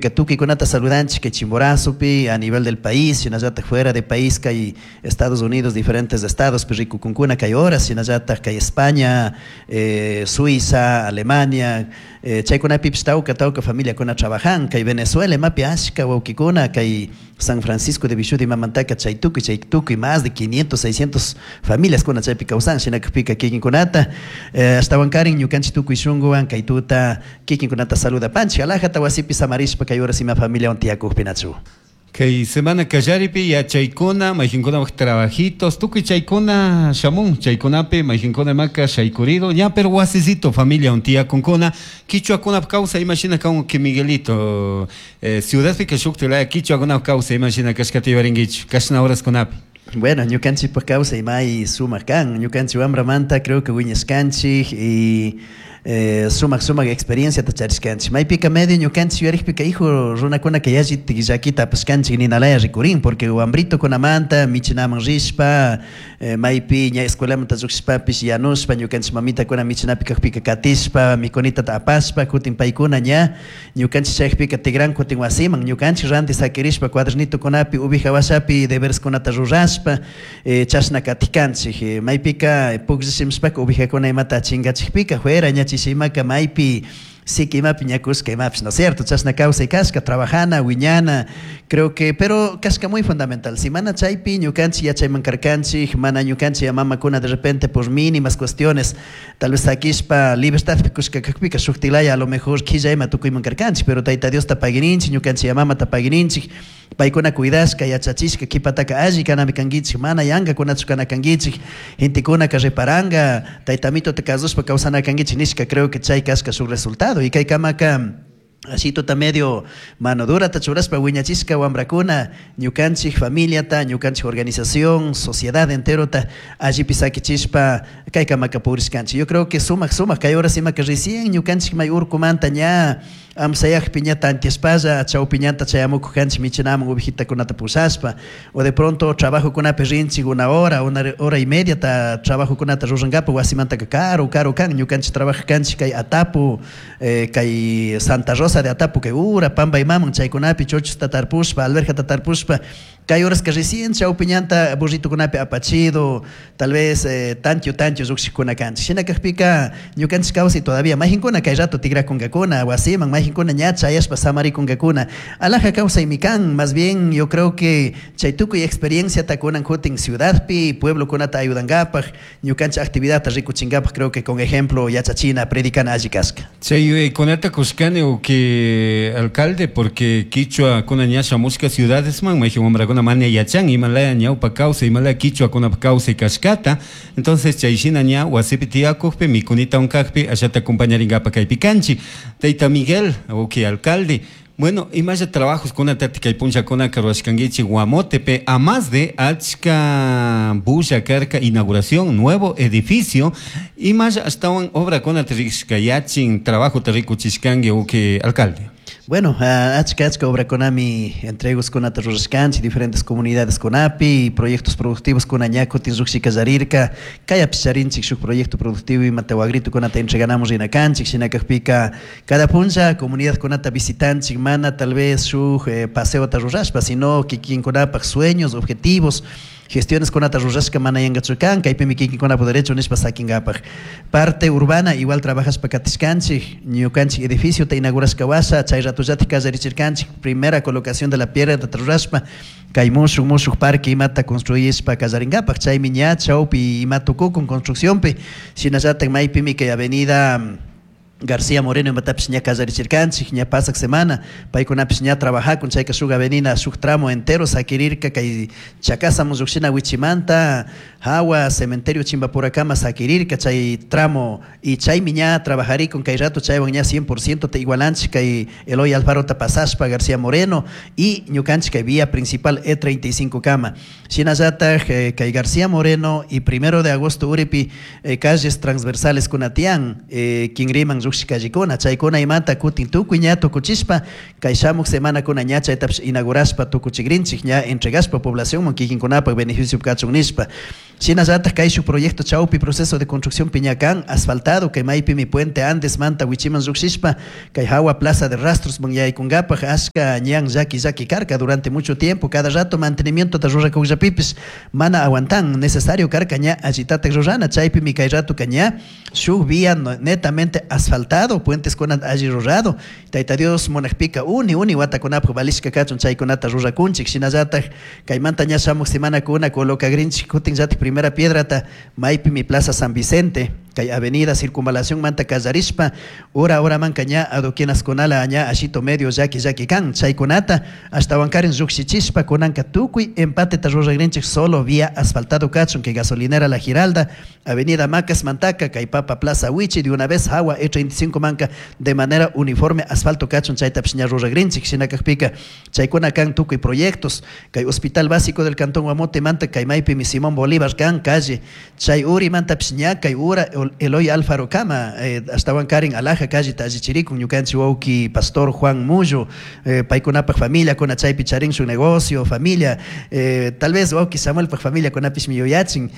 Shinakajpika tukuykunata saludanchik kay Chimborazopi a nivel del país, shinallatak fuera de país kay Estados Unidos diferentes estadospi rikukunkuna kay horas, shinallatak kay España, Suiza, Alemania, chaykunapipish tawka tawka familiakuna trabajan, kay Venezuela imapi ashka wawkikuna kay San Francisco de Vishudi imamantaka chay tukuy chay tukuy más de 500, 600 familiaskuna chaypi kawsan, shinakajpika kikinkunata ashtawankarin ñukanchik tukuy shunkuwan kay tuta kikinkunata saludapanchik, alajata wasipi samarishpa kay horas ima familiawan tiyakukpinachu. Kay semana kallaripi yachaykuna, mayqinkunapaq trabajitos, tukuy chaykuna shamun, chaykunapi mayqinkuna imaka shaykurido, ña pero wasisito familiawan tiyakunkuna, kichwakunap kawsay imashina kan que Miguelito, ciudadpika shukti laya kichwakunap kawsay imashina kashkata yuyarinkichu, kashna horaskunapi. Bueno, ñukanchikpak kawsay may sumak kan, ñukanchik wambramanta creo que wiñashkanchik y sumak sumak experienciata charishkanchik. Maypika medio ñukanchik yuyarikpika hijo runakunaka yallitik llakita apashkanchik ninalaya rikurin, porque wambritokunamanta michinaman rishpa, maypi ña escuelamanta llukshishpapish yanushpa ñukanchik mamitakuna michinapi kakpika katishpa mikunitata apashpa kutin paykuna ña ñukanchik chayakpika tigran kutin wasiman ñukanchik ranti sakirishpa cuadernitokunapi uvija washapi debereskunata rurashpa chashna katikanchik. Maypika pukllishimishpaka uvijakuna imata chingachikpika fuera ña chishimaka maypi siki imapi ña kushka imapish, ¿no es cierto? Chashna kawsay kashka, trabajana, wiñana, creo que, pero kashka muy fundamental. Si mana chaypi ñukanchik yachayman karkanchik, mana ñukanchik mamakuna de repente por mínimas cuestiones, tal vez sakishpa libertadpi kushka kakpika shuktilaya a lo mejor killa ima tukuyman karkanchik, pero Tayta Diosta paguininchik, ñukanchik mamata paguininchik, paykuna cuidashka, yachachishka, kipataka alli kanami kankichik, mana yankakunachu kana kankichik, gentekunaka reparanga, taytamitota kasushpa kawsana kankichik nishka, creo que chay kashka shuk resultado. Y kay kamaka ashituta medio mano durata churashpa wiñachishka wambrakuna, ñukanchik familiata, ñukanchik organización, sociedad enterota allipi sakichishpa kay kamaka purishkanchik. Yo creo que sumak sumak kay horas imaka recién ñukanchik may urkumanta ña amsayakpi ña tantiashpalla chawpi ñanta chayamukuj kanchik michinaman ovejitakunata pushashpa, o de pronto trabajokunapi rinchik una hora, una hora y media ta trabajokunata rurankapak wasimantaka karu karu kan, ñukanchik trabaja kanchik kay Atapu, kay Santa Rosa de Atapu kay ura pamba imaman chaykunapi chochosta tarpushpa, alberjata tarpushpa, kay horaska recién chawpi ñanta burritokunapi apachido, tal vez tantio tantio llukshikuna kanchik. Shina kakpika ñukanchik kawsay todavía mayqinkuna kay rato tigrakunkakuna wasiman, mayqinkuna ña chayashpa samarikunkakuna. Alaja kawsaymi kan, más bien yo creo que chay tukuy experienciata kunan kutin ciudadpi, pueblokunata ayudankapak, ñukanchik actividadta rikuchinkapak, creo que con ejemplo yachachina, predicana alli kashka. Chay yuyaykunata kushkani uki alcalde, porque kichwa kuna ña shamushka ciudadesman, mayqin wambrakuna mana yachan imalaya ñawpa kawsay, imalaya kichwakunapa kawsay kashkata, entonces chay shina ña wasipi tiyakukpi mikunita unkakpi ashata acompañarinkapak kaypi kanchik. Tayta Miguel, uki alcalde, bueno, imalla trabajos kunata kay punllakunaka rurashkankichik Guamotepe, a más de achka bulla karka inauguración nuevo edificio, imalla ashtawan obra kunata rikushkayachin, trabajota rikuchishkanki uki alcalde. Bueno, achka achka obrakunami entregos kunata rurashkanchik diferentes comunidades kunapi, proyectos productivos kuna ña kutin llukshi kallarirka, kayapish charinchik shuk proyecto productivo imata wagrito kunata entreganamos rina kanchik, shina kakpika cada punlla comunidad kunata visitanchik, mana tal vez shuk paseota rurashpa, sino kikinkunapak sueños, objetivos, gestiones kunata rurashka mana yankachu kan, kaypimi kikinkunapak derecho nishpa sakinkapak. Parte urbana igual trabajashpa katishkanchik, ñukanchik edificiota inaugurashka washa, chay ratullatik kallarichirkanchik, primera colocación de la piedra rurashpa, kay mushuk mushuk parque imata construyishpa kallarinkapak, chaymi ña chawpi ima tukukun construccionpi, shinallatak maypimi kay avenida García Moreno imatapish ña kallarichirkanchik, ña pasak semana, paykunapish ña trabajakun, chayka shuk avenida, shuk tramo entero sakirirka kay Chacasamun llukshina wichimanta, hawa cementerio Chimbapuracama sakirirka chay tramo, y chaymi ña trabajarikun kay rato chaywan ña 100% te igualanchik kay Eloy Alfarota pasashpa García Moreno y ñukanchik kay vía principal E35 kama. Shinallatak kay García Moreno y 1 de agosto uripi calles transversales kunatian, Quinriman llukshik callecuna, chaykuna imata kutin tukuy ña tukuchishpa kay shamuk semanakuna ña chaytapish inaugurashpa tukuchikrinchik, ña entregashpa poblacionman kikinkunapak beneficio kachun nishpa. Shinallatak kay shuk proyecto chawpi proceso de construcción ña kan asfaltado, kay maypimi Puente Andes manta wichiman llukshishpa kay hawa Plaza de Rastros man yaykunkapak ashka ñan llaki llaki karka durante mucho tiempo, cada rato mantenimiento ta rurakukllapipis mana aguantan, necesario karka ña allitatak rurana, chaypimi kay ratoka ña shuk vía netamente asfaltado, puentes kuna alli rurado. Tayta Dios munakpika uni uni watakunapak valishka kachun chaykunata rurakunchik. Shinallatak kaymanta ña shamuk semanakuna colocagrinchik kutinllatak primera piedrata maypimi Plaza San Vicente, kay avenida Circunvalación manta kallarishpa ura uramanka ña adoquinaskunala ña ashito medio llaki llaki kan chaykunata ashtawankarin llukshichishpa kunanka tukuy empateta ruragrinchik solo vía asfaltado kachun kay gasolinera La Giralda, avenida Macas Mantaca, kay Papa Plaza Wichi, de una vez hawa E35 manka de manera uniforme asfalto kachun chaytapish ña ruragrinchik. Shinakakpika chaykuna kan tukuy proyectos, kay Hospital Básico del Cantón Guamote manta kay maypimi Simón Bolívar kan calle chay uri mantapish ña kay ura Eloy Alfaro kama ashtawankarin Alaja calle allichirikun ñukanchik wawki pastor Juan Mullo, paykunapak familia kuna chaypi charin su negocio familia, tal vez wawki Samuelpak familia kunapishmi yuyachin,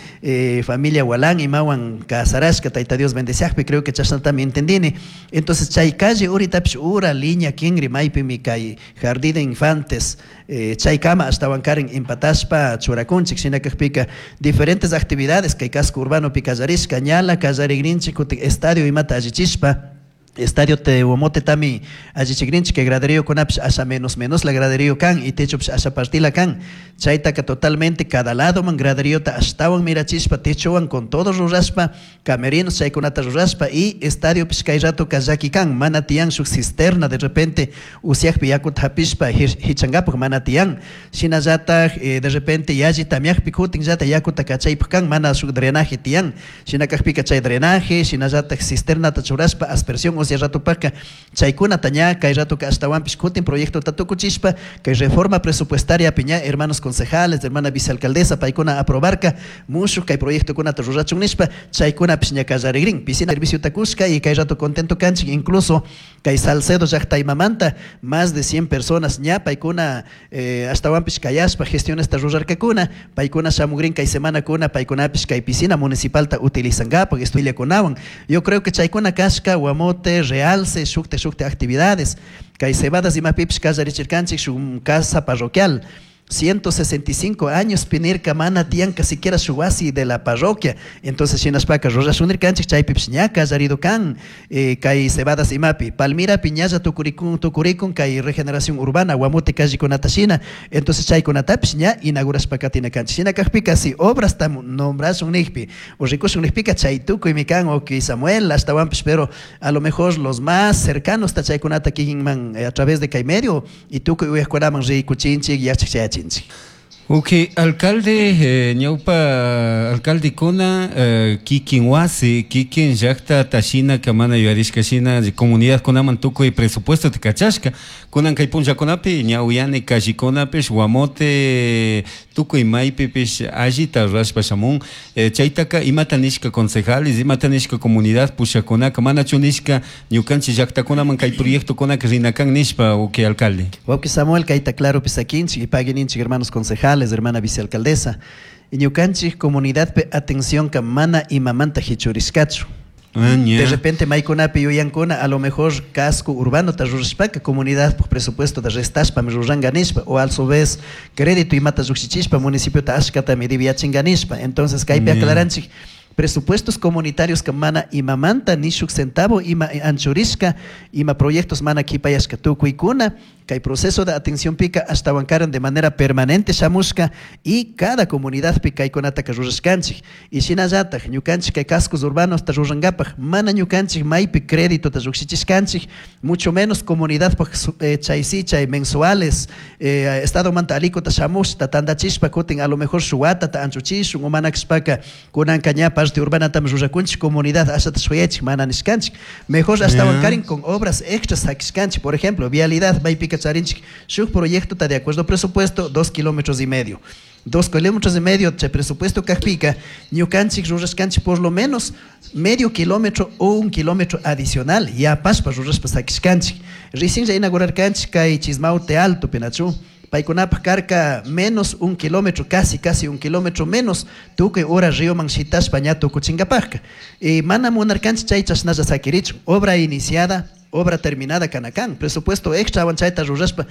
familia Walán imawan kasarashka Tayta Dios bendeciakpi, creo que chashnatami entendini. Entonces chay calle uritapish ura línea kinri maypimi kay jardín de infantes, chay kama ashtawankarin empatashpa churakunchik. Shinakakpika diferentes actividades kay casco urbano pi kallarishka ñala kallarigrinchik kutin estadio imata allichishpa estadio te Guamote tami allichikrinchik kay graderío kunapish asha menos menos la graderío kan y techopish asha partila kan, chaytaka totalmente cada lado man graderiota ashtawan mirachishpa techowan con todo rurashpa camerinos chaykunata rurashpa y estadio pish kay rato kallaki kan mana tiyan shuk cisterna de repente usiakpi yakuta hapishpa hichankapak mana tiyan, shinallatak de repente yalli tamiakpi kutinllata yakuta kachaypak kan mana shuk drenaje tiyan, shinakakpika chay drenaje shinallatak cisternata churashpa aspersión usya ratopaka chaykunata ña kay ratoka ashtawanpish kutin proyectota tukuchishpa kay reforma presupuestaria piña hermanos concejales, hermana vicealcaldesa paykuna aprobarka mushuk kay proyectokunata rurachun nishpa chaykunapish ña kallarigrin piscina serviciota kushka y kay rato contento kanchik, incluso kay Salcedo llaqtaymamanta más de 100 personas ña paykuna ashtawanpish kayashpa gestionesta rurarkakuna paykuna shamugrin kay semanakuna paykunapish kay piscina municipalta utilizankapak estudiakunawan. Yo creo que chaykuna kashka Guamote realce shukte shukte actividades kay cebadas imapipish kallarichirkanchik shuk casa parroquial 165 años pinirka mana tiyanka siquiera shuk wasi de la parroquia, entonces shinashpaka rurashunirkanchik chaypipish ña kallarido kan, kay cebadas imapi Palmira piñalla tukurikun tukurikun kay regeneración urbana Guamote callekunata shina, entonces chaykunatapish ña inaugurashpa katina kanchik. Shina kakpika si obras tam nombrashun nijpi o rikushun nijpika chay tukuymi kan oki Samuel ashtawanpish, pero a lo mejor los más cercanos ta chaykunata kikinman a través de kay medio y tukuy uyajkunaman rikuchinchik yachak chayachinchik. Ok, alcalde, ñawpa alcalde kuna, kikin wasi, kikin llaqta tashina kamana yuyarishka shina comunidad kunaman tukuy presupuesto tikachashka kunan kay punllakunapi ñawyani callikunapish Guamote tukuy maypipish allita rurashpa shamun, chaytaka imata nishka concejales, imata nishka comunidad pushakunaka manachu nishka ñukanchik llaqtakunaman kay proyectokunaka rinakan nishpa. Ok, alcalde. Wawki Samuel kayta claro pisakinchik y paguininchik hermanos concejales, hermana vicealcaldesa, y ñukanchik comunidad pe atención ka mana imamanta hichurishkachu. De repente maykunapi yuyankuna a lo mejor casco urbano ta rurashpaka comunidad por presupuesto de restashpa mi ruranka nishpa o a su vez crédito imata llukshichishpa municipio ta ashkata mi diviachinka nishpa. Entonces kaypi aclaranchik presupuestos comunitarios ka mana imamanta ni shuk centavo ima anchurishka ima proyectos mana kipayashka tukuykuna kay proceso de atención pica ashtawankaran de manera permanente shamushka y cada comunidad pi kaykunata ka rurashkanchik y shinallatak ñukanchik kay cascos urbanos ta rurankapak mana ñukanchik maypi crédito ta llukshichishkanchik mucho menos comunidad pak chay si chay mensuales, estado manta alikota shamushta tandachishpa kutin a lo mejor shuwata ta anchuchishun o mana kashpaka kunanka ña Parte urbana tam rurakunchik, comunidad ashata shuyachik mana nishkanchik. Mejor ashtawan karin con obras extras sakishkanchik. Por ejemplo, vialidad maypika charinchik shuk proyecto de acuerdo al presupuesto 2 kilómetros y medio. 2 kilómetros y medio chay presupuesto kakpika, ñukanchik rurashkanchik por lo menos medio kilómetro o un kilómetro adicional yapashpa rurashpa sakishkanchik. Recién inaugurarkanchik kay Chismaute Alto, pinachu. Paykunapaj karka menos un kilómetro, casi casi un kilómetro menos, tukuy hora ríoman shitashpa ña tukuchinkapajka. Y mana munarkanchik chay chashnalla sakirichun. Obra iniciada, obra terminada kanakan. Presupuesto extra chayta rurashpa.